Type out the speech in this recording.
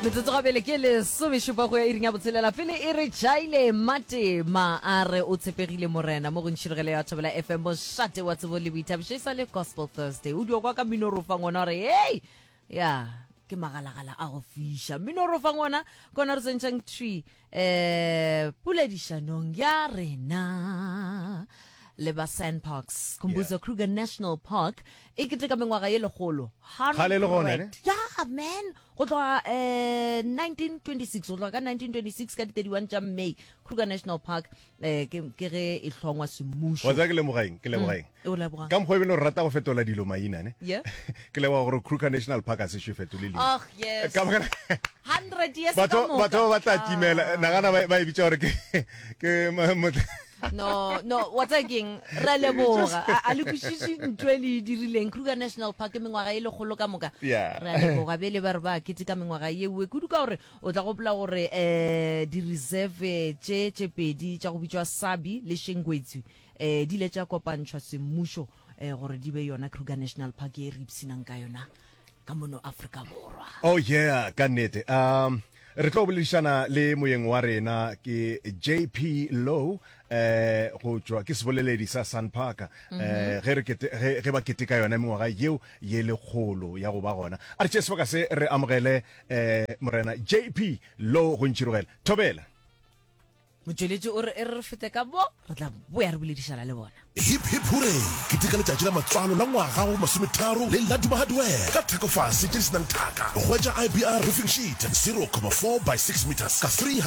Metsotso gabele ke lesomešupa go ya iring ya botshelela pele e re tšhaile matema a re o tshepegile morena mo go ntšhirogelo ya thobela fm mošate wa tsebo le boithabišo e sa le gospel thursday o dio kwa ka mmino o rofang ona gore hei ya ke magalagala a go fiša mmino o rofang ona kona re tsentšhang tree um poledišanong ya rena le ba sandparks khumbuzo yeah. kruger national park e keteka mengwaga ye lekgolo Kgale le gona, ne? yeah man go tloga um 1926 go tloga ka 1926 ka di-31 tša may kruger national park um ke ke ge e hlongwa semmušo wa tseba ke lemoga eng ke lemoga eng o lebogang ka mokgwa ebile o rata go fetola dilo maina ne Yeah. ke leboga gore kruger national park a se šo fetole leina oh yes ka baka la- 100 years ka batho moka. batho ba ba tla timela Ah. nagana ba ba e bitša gore ke ke ma- mo- no no wa tseba keng re a leboga a a le kwešiše ntho e le e dirileng kruger national park mengwaga e lekgolo ka moka Yeah. re a leboga bjale ba re ba keteka mengwaga yewe kudu ka gore O tla gopola gore um di-reserve tše tše pedi tša go bitšwa Sabi le Shengwetsi um di ile tša kopantšhwa semmušo um gore di be yona Kruger National Park ye re ipshinang ka yona ka mono Afrika Borwa. Oh yeah, ka nnete. Um, re tlo boledišana le moyeng wa rena ke JP Low eh go tšwa ke seboleledi sa Sun Park eh ge re kete ge ge ba keteka yona mengwaga yeo ye lekgolo ya go ba gona. A re tšee sebaka se re amogele eh morena jp lo go ntšhirogela thobela Motšweletši o re e re re fete ka bo, re tla boya re boledišana le bona. Hip hip hooray! Keteka letšatši la matswalo la ngwaga wa bomasometharo le Laduma Hardware ka thekofase tše di se nang thaka. Hwetša IBR roofing sheet 0,4 by 6 metres ka 300.